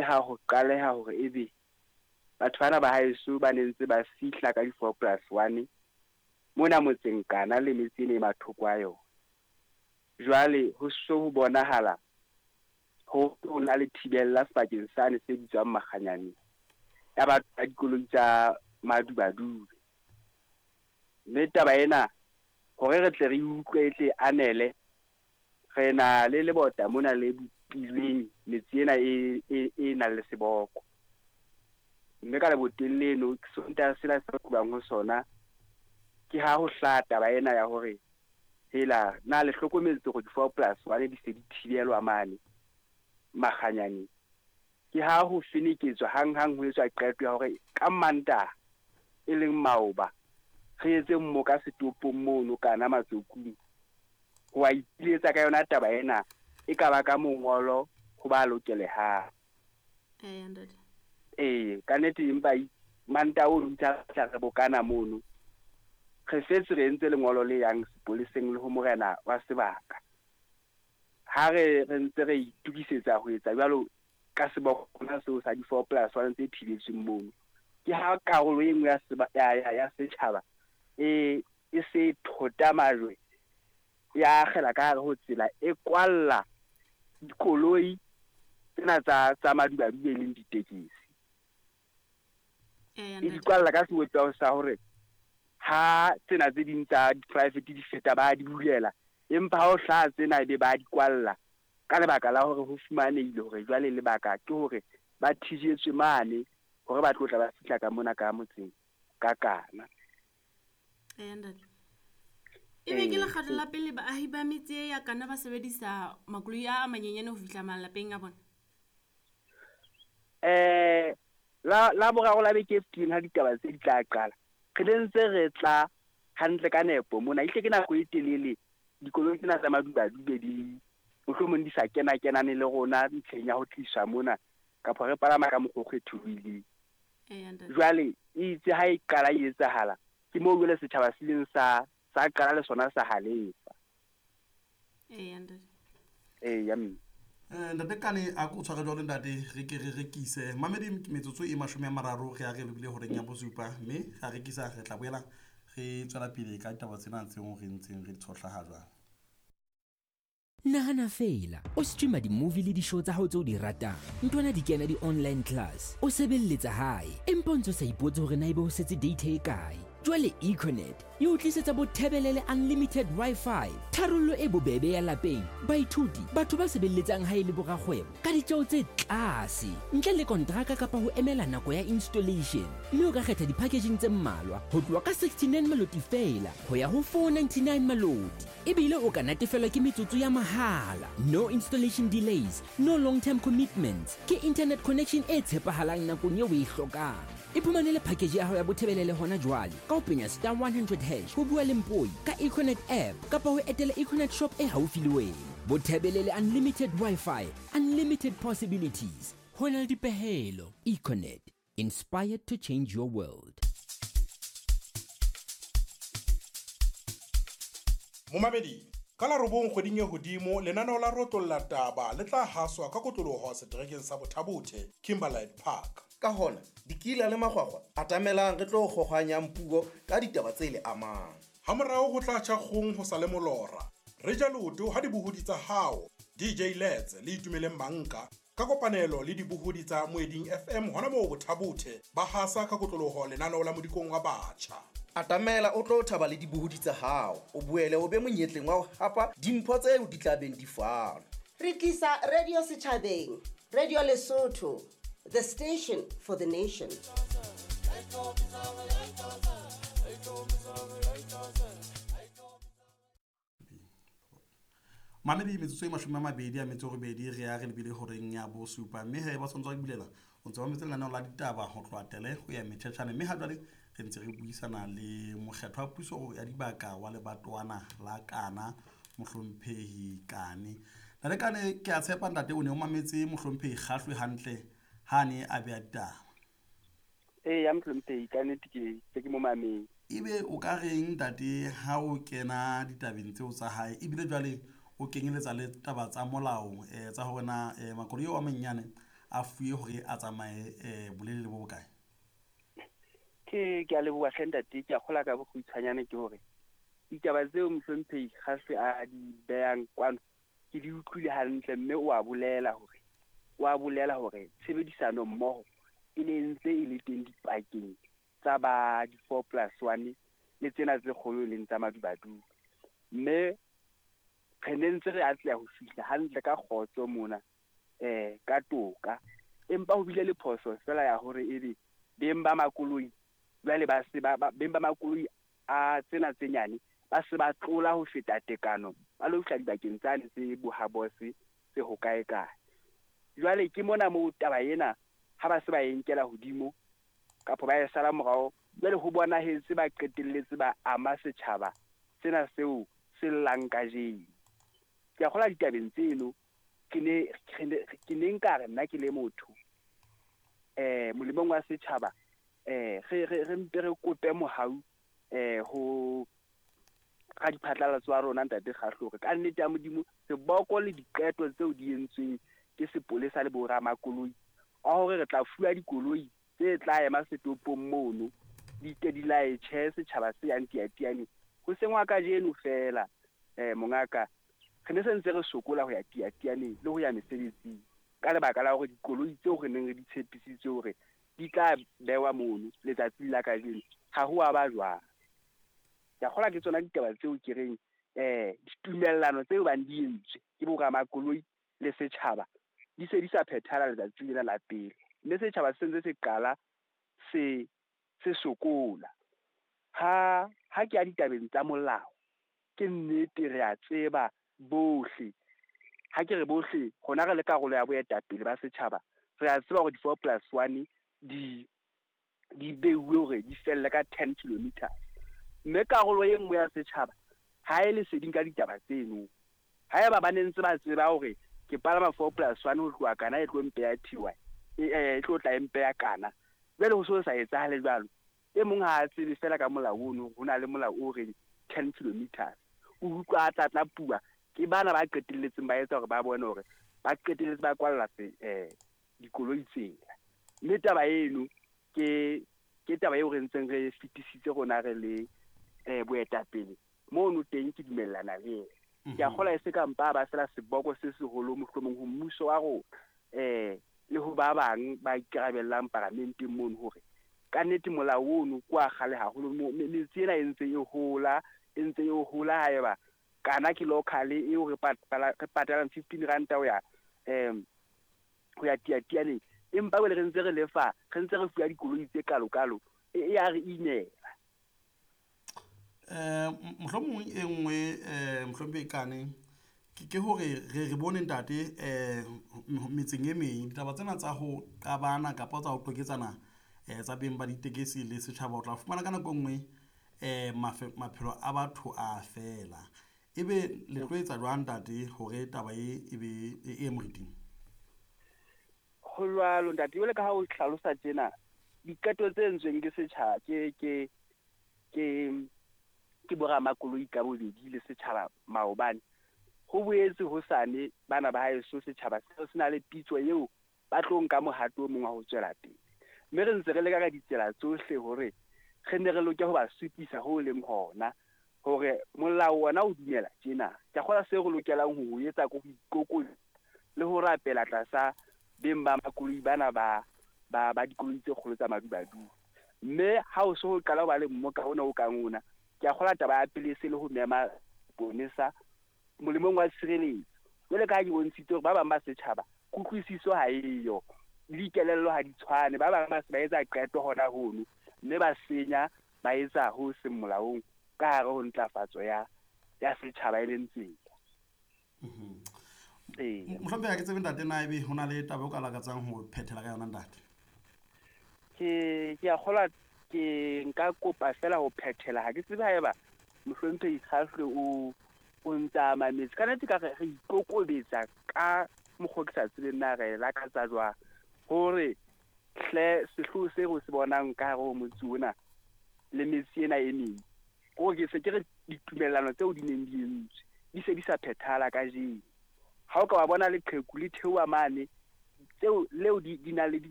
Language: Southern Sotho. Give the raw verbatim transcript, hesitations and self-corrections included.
le ha ho qaleha hore ebe batho bana ba haeso ba ne ntse ba fihla ka di-four plus one mona motseng Kana le metse e mathoko a yona. Jwale ho so ho bonahala ho ho na le thibella sebakeng sane se bitswang Makganyaneng ya batho ba dikoloi tsa madubadube. Mme taba ena hore re tle re utlwe e tle anele, re na le lebota mona le bopilweng metse ena e e e nang le seboko. Mme ka leboteng leno Sontaha sena se tlohang ho sona ke ha ho hlaha taba ena ya hore hela na le hlokometse hore di-four plus one di se di thibelwa mane Makganyaneng. Ke ha ho feneketswa hanghang ho etswa qeto ya hore ka Mantaha e leng maoba re etse mmoka setopong mono Kana Matsokung ho a ipiletsa ka yona taba ena e ka ba ka mongolo ho ba lokelehang. Eya ntate. Ee, ka nnete empa Mantaha ono itse ha re bokana mono re setse re entse lengolo le yang sepoleseng le ho morena wa sebaka. Ha re re ntse re itukisetsa ho etsa jwalo ka sebokona seo sa di-four plus one tse thibetsweng mono, ke ha karolo e nngwe ya seba ya ya ya setjhaba e e se thota majwe ya akgela ka hare ho tsela e kwalla dikoloi tsena tsa tsa madubadube e leng ditekesi. Eya E di ntate. kwalla ka sebopeho sa hore ha tsena tse ding tsa di-private di feta ba di bulela, empa ha ho hlaha tsena ebe ba di kwalla ka lebaka la hore ho fumanehile hore jwale lebaka ke hore ba thijetswe mane hore ba tlo tla ba fihla ka mona ka motseng ka Kana. Eya ntate. Ebe ke Ee, lekgetlo la pele baahi ba metse e ya Kana ba sebedisa makoloi a a manyenyane ho fihla malapeng a bona? Eh la la boraro la beke e fetileng ha ditaba tse di tla qala, re ne ntse re tla hantle ka nepo mona. Ehlile ke nako e telele dikoloi tsena tsa madubadube di mohlomong di sa kena kenane le rona ntlheng ya ho tliswa mona kapa re palama ka mokgwa o kgetholohileng. Eya ntate. Jwale itse ha e qala e etsahala ke moo jwale setjhaba se ileng sa sa qala le sona sa halefa. Eya ntate. Eya mme. Eh, ntate Kane a ko tshware jwalo ntate re ke re rekise mamedi metsotso e mashome a mararo re a re lebile horeng ya bosupa mme ra rekisa re tla boela re tswela pele ka ditaba tsena tseo re ntseng re di tshohla ha jwale. Nahana feela o streama di-movie le di-show tsa hao tse o di ratang, ntwana di kena di-online class, o sebelletsa hae empa o ntso sa ipotse hore na ebe ho setse data e kae. Jwale Econet e o tlisetsa Bothebelele unlimited Wi-Fi, tharollo e bobebe ya lapeng, baithuti, batho ba sebelletsang hae le borakgwebo ka ditjeo tse tlase, ntle le kontraka kapa ho emela nako ya installation. Mme o ka kgetha di-packaging tse mmalwa ho tloha ka sixty-nine maloti feela ho ya ho four ninety-nine maloti. Ebile o ka natefelwa ke metsotso ya mahala. No installation delays, no long-term commitments. Ke internet connection e tshepahalang nakong eo o e hlokang. Iphumanele package ya hao ya Bothebelele hona jwale ka ho penya star one hundred hash ho bua le Mpoi ka Econet app kapa ho etela Econet shop e haufi le wena. Bothebelele unlimited Wi-Fi, unlimited possibilities. Ho na le dipehelo. Econet, inspired to change your world. Momamedi, ka la robong kgweding e hodimo lenaneo la Rotlolla Taba le tla haswa ka kotloloho seterekeng sa Bothabothe, Kimberlite Park. Ka hona, dikila le makgwakgwa atamelang re tlo kgohwanyang puo ka ditaba tse le amang. Hamorao ho tla tjha kgong ho sa le molora. Re ja leoto ha dibohodi tsa hao, D J Lets le Itumeleng Manka, ka kopanelo le dibohodi tsa Moeding F M hona moo Bothabothe ba hasa ka kotloloho lenaneo la Modikong wa Batjha. Atamela o tlo thaba le dibohodi tsa hao, o boele o be monyetleng wa ho hapa dimpho tseo di tla beng di fanwa. Re tlisa radio setjhabeng, Radio Lesotho, the station for the nation. Mamedi metsotso e mashome a mabedi a metso e robedi re ya re lebile horeng ya bosupa mme he ba tshwanetse ba bulela o ntse ba metse lenaneo la ditaba ho tloha tele ho ya metjhetjhane mme ha jwale re ntse re buisana le mokgethwa wa puso ya dibaka wa lebatowana la Kana mohlomphehi Kane. Ntate Kane ke a tshepa ntate o ne o mametse mohlomphehi Kgahlwe hantle ha ne a beha ditaba. Ee, ya mohlomphehi ka nnete ke se ke mo mametse. Ebe o ka reng ntate ha o kena ditabeng tseo tsa hae ebile jwale o kenyeletsa le taba tsa molao, eh, tsa hore na, eh, makoloi ao a manyenyane a fuwe hore a tsamaye um bolelele bo bokae? Ke ke a leboha hle ntate. Ke a kgola ka bokgutshwanyane ke hore ditaba tseo mohlomphehi Kgahlwe a di behang kwano ke di utlwile hantle, mme o a bolela hore o a bolela hore tshebedisano mmoho e ne ntse e le teng dipakeng tsa ba di-four plus one le tsena tse kgolo e leng tsa Madubaduba. Mme re ne ntse re atleha ho fihla hantle ka kgotso mona um ka toka. Empa ho bile le phoso fela ya hore ebe beng ba makoloi jwale ba se ba beng ba makoloi a tsena tse nyane ba se ba tlola ho feta tekano, ba lo fihla dibakeng tsane tse bohabose tse ho kae kae. Jwale ke mona moo taba ena ha ba se ba e nkela hodimo kapa ba e sala morao, jwale ho bonahetse ba qetelletse ba ama setjhaba sena seo se llang kajeno. Ke a kgolwa ditabeng tseno ke ne ke ne nka re nna ke le motho eh molemong wa setjhaba eh re re re mpe re kope mohau eh ho ka diphatlalatso wa rona ntate Kgahlwe hore ka nnete ya Modimo seboko le diqeto tseo di entsweng ke sepolesa le boramakoloi a hore re tla fuwa dikoloi tse tla ema setopong mono di ke di laetjhe setjhaba se yang Tiatiane ho sengwa kajeno fela. Eh mongaka, re ne se ntse re sokola ho ya Tiatiane le ho ya mesebetsing ka lebaka la hore dikoloi tseo re neng re di tshepisitse hore di tla bewa mono letsatsing la kajeno ha ho a ba jwang. Ke a kgolwa ke tsona ditaba tseo ke reng eh ditumellano tseo bang di entswe ke boramakoloi le setjhaba di se di sa phethala letsatsing lena la pele, mme setjhaba se ntse se qala se se sokola. Ha ha ke ya ditabeng tsa molao, ke nnete re a tseba bohle, ha ke re bohle rona re le karolo ya boetapele ba setjhaba, re a tseba hore di-four plus one di di beuwe hore di felle ka ten kilometers, mme karolo e nngwe ya setjhaba ha e leseding ka ditaba tseno. Haeba ba ne ntse ba tseba hore ke palama four plus one ho tloha Kana e tlo mpeya T Y, e tlo tla mpeya Kana, jwale ho so sa etsahale jwalo. E mong ha a tsebe fela ka molao ono, ho na le molao o reng ten kilometers, o utlwa a tlatla pua ke bana ba qetelletseng ba etsa hore ba bone hore ba qetelletse ba kwalla eh dikoloi tsela. Mme taba eno ke ke taba eo re ntseng re fetisitse rona re le eh boetapele mono teng, ke dumellana le yena. Ke a kgolwa e se ka mpa ba fela seboko se seholo mohlomong ho mmuso wa rona eh le ho ba bang ba ikarabellang paramenteng mono hore ka nnete molao ono ke wa kgale haholo. Metse ena e ntse e hola, e ntse e hola. Haeba Kana ke local eo re patalang fifteen ranta ho ya um ho ya Tiatianeng, empa jwale re ntse re lefa, re ntse re fuwa dikoloi tse kalo-kalo, e ya re imela. Eh mohlomong e nngwe eh mohlomphehi Kane ke hore re re bone ntate eh metseng e meng ditaba tsena tsa ho qabana kapa tsa ho qeketsana eh tsa beng ba ditekesi le setjhaba, o tla fumana ka nako e nngwe eh maphelo a batho a fela. Ebe le tlo etsa jwang ntate hore taba e ebe e moriting? Ho jwalo ntate, jwale ka ha o hlalosa tjena diqeto tse entsweng ke setjhaba ke ke ke ke boramakoloi ka bobedi le setjhaba maobane, ho boetse hosane bana ba haeso setjhaba seo se na le pitso eo ba tlo nka mohato o mong wa ho tswela pele. Mme re ntse re leka ka ditsela tsohle hore re ne re loke ho ba supisa ho leng hona hore molao ona o dumela tjena. Ke a kgolwa seo re lokelang ho etsa ke ho ikokobetsa le ho rapela tlasa beng ba makoloi bana ba ba ba dikoloi tse kgolo tsa Madubaduba. Mme ha o so ho qala ho ba le mmoka ona o kang ona, ke a kgolwa taba ya pele se le ho mema ponesa molemong wa tshireletso. Jwale ka ha ke bontshitse hore ba bang ba setjhaba kutlwisiso ha eyo, le dikelello ha di tshwane, ba bang ba se ba etsa qeto hona hono mme ba senya ba etsa ho seng molaong ka hare ho ntlafatso ya ya setjhaba e leng tsela. Ee. Mohlomphehi, ha ke tsebe ntate na ebe ho na le taba o ka lakatsang ho phethela ka yona ntate? Ke ke a kgolwa ke nka kopa fela ho phethela. Ha ke tsebe haeba mohlomphehi Kgahlwe o o ntsa mametse. Ka nnete ka re re ikokobetsa ka mokgwa ke sa tsebeng na re lakatsa jwang hore hle sehloho se re se bonang ka hare ho motse ona le metse ena e meng, hore ke se ke re ditumellano tseo di neng di entswe di se di sa phethala kajeno. Ha o ka wa bona leqheku le theoha mane tseo leo di di na le